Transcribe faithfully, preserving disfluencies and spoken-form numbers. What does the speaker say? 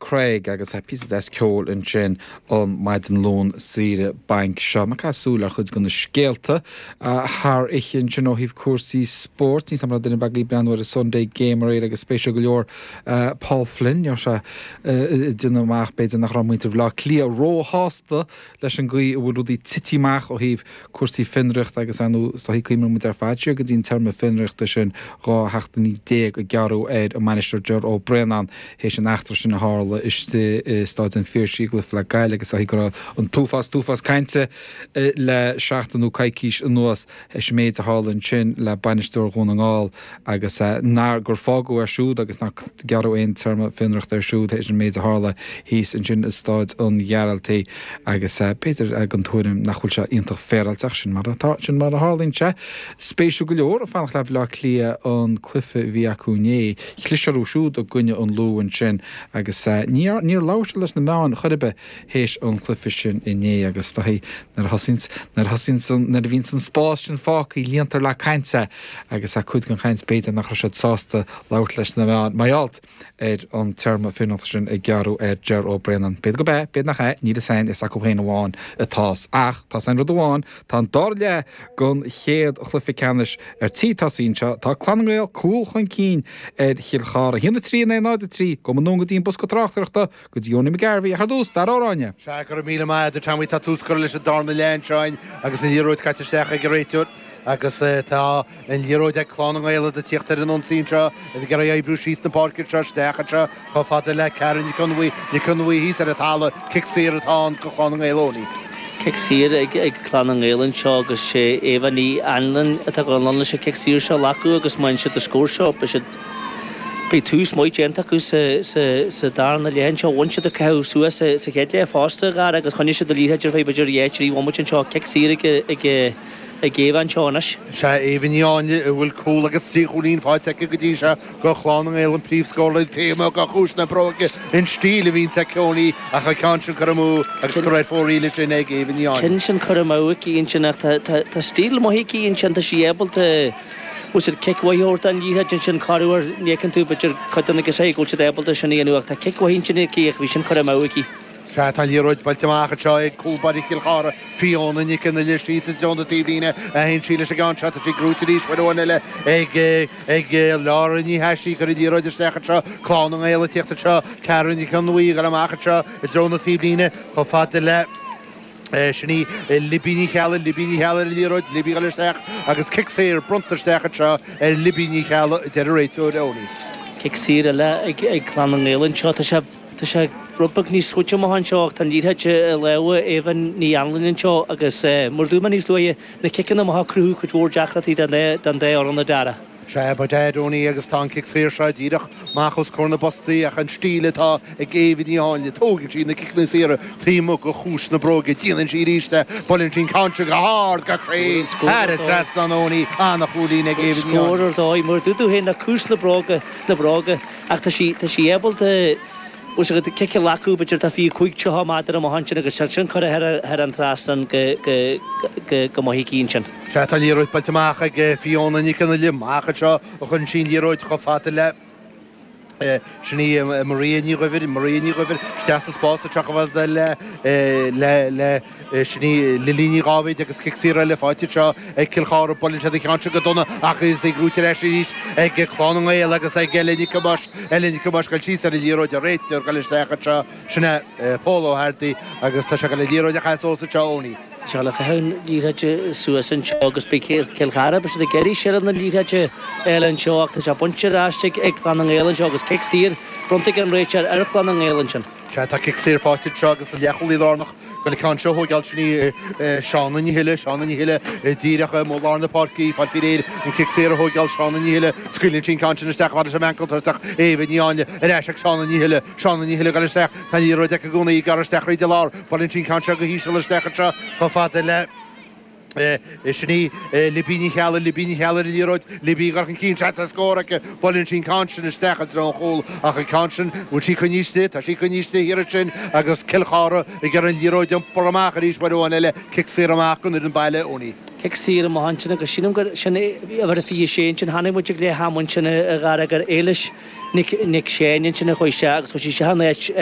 Craig agus píosa deas ceoil ansin an maidin Luan saoire bainc seo. Ag caitheamh súil ar chuid de na scéalta thar oíche ansin ó thaobh cúrsaí spóirt. Ní sam duine beag breathnú ar an Sunday Game aréir agus spéisiúil go leor Paul Flynn sé déanamh amach b'fhéidir nach raibh muintir Bhaile Átha Cliath róshásta leis an gcaoi a bhfuil rudaí tite amach ó thaobh cúrsaí fionraíochta agus anú soí cuimre muid ar fad siar go dtí an téarma fionraíochta sin dhá sheachtain déag a gearradh ar an mbainisteoir Ger Ó Braonáin théis an eachtra sin a tharla istigh i Staid an Phiarsaigh i gcluiche le Gaillimh agus go raibh an t-uafás t-uafás cainte le seachtain nó coicís anuas théis an méid a tharla ansin le bainisteoir Dhún na nGall agus nár gur fágadh air siúd agus nár gearradh aon téarma fionraíochta air siúd théis an méid a tharla thíos ansin i Staid an Ghearaltaigh agus b'fhéidir an tuairim nach bhfuil sé iontach féaráilte sin mar atá sin mar a tharlaíonn sé. Spéisiúil go leor a fanacht le Baile Átha Cliath an cluiche a bhí acu inné chlis orthu siúd i gcoinne an Lú ansin agus níor níor labhair siad leis na meáin chor ar bith théis an cluiche sin inné agus taí nuair a thosaíonn nuair a thosaíonn nuair a bhíonn an spás sin fágtha líontar le caint agus a cuid den chaint b'fhéidir nach raibh siad sásta labhairt leis na meáin mar gheall ar an téarma fionraíochta sin a gearradh ar Ger Ó Braonáin. B'fhéidir gurb ea, b'fhéidir nach é, níl a fhios acu féin amháin atá ach tá an rud amháin tá an dara leath den chéad chluiche ceannais ar tí tosaí anseo tá Clanna nGael cúl chun cinn ar Chill Chartha. Haon a trí naoi náid a trí go anonn go dtí an bosca tráchtaireachta go dtí Owenie McGarvey a dús dar áine. Se go míle maith Tommy tá tús curtha leis an darna leath anseo agus an liathróid caite isteach ag an réiteoir agus tá an liathróid ag Clanna nGael ag tíocht ar an ionsaí seo ag iarraidh oibriú síos na páirce seo isteach anseo chomh fada le Karen Nic Conmhaí Nic Conmhaí thíos ar an talamh cic saor atá ann do Chlanna nGael Owenie. Cic saor ag ag Clanna nGael anseo agus sé Eva Ní Anlin atá go leis an cic saor seo lecu agus má siad a scór seo be siad Beidh tús maith déanta acu sa sa sa darna leath anseo bhain siad a caitheamh suas sa sa chéad leath fosta gar agus choinnigh siad an liathróid ar feadh b'fhéidir dhá trí bhomaite anseo cic saor ag ag ag Eva anseo anois. Se Eva Ní Áinle a bhfuil cúl agus trí chúilín faighte aici go dtí seo do Chlanna nGael an príomhscórálaí téama go chúis na bróige an stíl a bhíonn aici ach an ceann sin curtha amú agus go raibh fóiríle sin ag Eva Ní Áinle. Cinn sin curtha amú aici ansin ach tá stíl maith aici ansin tá sí ábalta bhfuil siad cic mhaith an liathróid sin corruair ní tú b'fhéidir cuid agus é go bhfuil siad ábalta sin a dhéanamh ach tá cic mhaith sin aici ach bhí sin curtha amú aici. Se tá liathróid buailte amach anseo ag cúl báire Chill Chartha Fiona Nic na le sí sa dona taobhlíne a haon sí leis an gceann seo sí gnóthaithe arís bhuain eile ag ag Laura Ní Thaisí gur liathróid isteach anseo Clanna nGael tíocht anseo Karen Nic an Nuí gur amach anseo i dtreo na taobhlíne chomh fada le sin í Libby Ní Cheallaigh Libby Ní Cheallaigh ar liathróid Libby go isteach agus cic saor bronnta isteach anseo ar Libby Ní Cheallaigh deir an réiteoir Owenie. Cic saor eile ag ag Clanna nGael anseo tá sé tá sé rud beag níos suaite amach anseo tá liathróid i lámha Eva Ní Anlin anseo agus mar dúirt mé níos luaithe na ciceanna amach cruthú cuid mhór deacrachtaí den den dá fhoireann a Dara. Se ba Owenie agus tá an cic saor seo díreach amach os comhair na bpostaí ach an stíl atá ag Eva Ní Áinle tógann sí na ciceanna saora taobh amuigh de chúis na bróige déanann sí arís buaileann sí an ceann go hard go cruinn thar an trasnán Owenie an-chúilín ag Eva Ní Scór ar dóigh mar dúirt tú féin na cúis na bróga na bróga ach tá sí tá sí ábalta Us go cic leú b'fhéidir tá fiche cúig tríocha méadar amach ansin agus sin curtha thar an trasnán go go go go maith cinn sin. Se tá liathróid buailte amach ag Fiona Nic an le amach anseo a chun sin liathróid chomh fada le sin í Maria Ní Dhuibhir Maria Ní Dhuibhir isteach sa spás a teachbh le le le sin í Lilí Ní Dháibhéid agus cic saor eile faighte seo ag Cill Chartha buaileann sé an ceann seo go dona ach is ag rútar arís ag Clanna nGael agus ag Eile Nic Amáis Eile Nic Amáis go síos ar an liathróid a réiteoir go isteach anseo sin é Paul O'Hardy agus tá sé go le liathróid a chaitheamh suas anseo Owenie. Se le chahan liathróid suas anseo agus beidh Cill Chartha be siad ag iarraidh seilbh na liathróide eile anseo ach tá sé bainte ar ais ag Clanna nGael anseo agus cic saor bronnta ag an réiteoir ar Chlanna nGael ansin. Se tá cic saor faighte seo agus an leathchúlaí lárnach go le ceann seo thógáil sin í Seána Ní Thuile Seána Ní Thuile díreach ó lár na páirce fáil féir an cic saor a thógáil Seána Ní Thuile scaoileann sin ceann sin isteach fad sem ancotartach Éabh Ní Áinle ar ais ag Seána Ní Thuile Seána Ní Thuile go isteach tá liathróid aici i gcónaí gar isteach thríd an lár buaileann sin ceann seo go híseal isteach anseo chomh fada le sin í Libby Ní Cheallaigh Libby Ní Cheallaigh ar liathróid Libby gar an cinn se scór aici buaileann sin ceann sin isteach an tron chúl ach an ceann sin bhfuil sí coinnithe tá sí coinnithe thiar sin agus Cill Chartha ag ar an liathróid iompar amach arís bhuain eile cic saor amach don fhoireann baile Owenie. Cic saor amach ansin agus sílim gur sin a bhar a fiche sé sin tháinig muid ag le hamhain sin a gharag ar éilis Nic Nic Séin sin a chuaigh sé agus chuaigh sí se an áit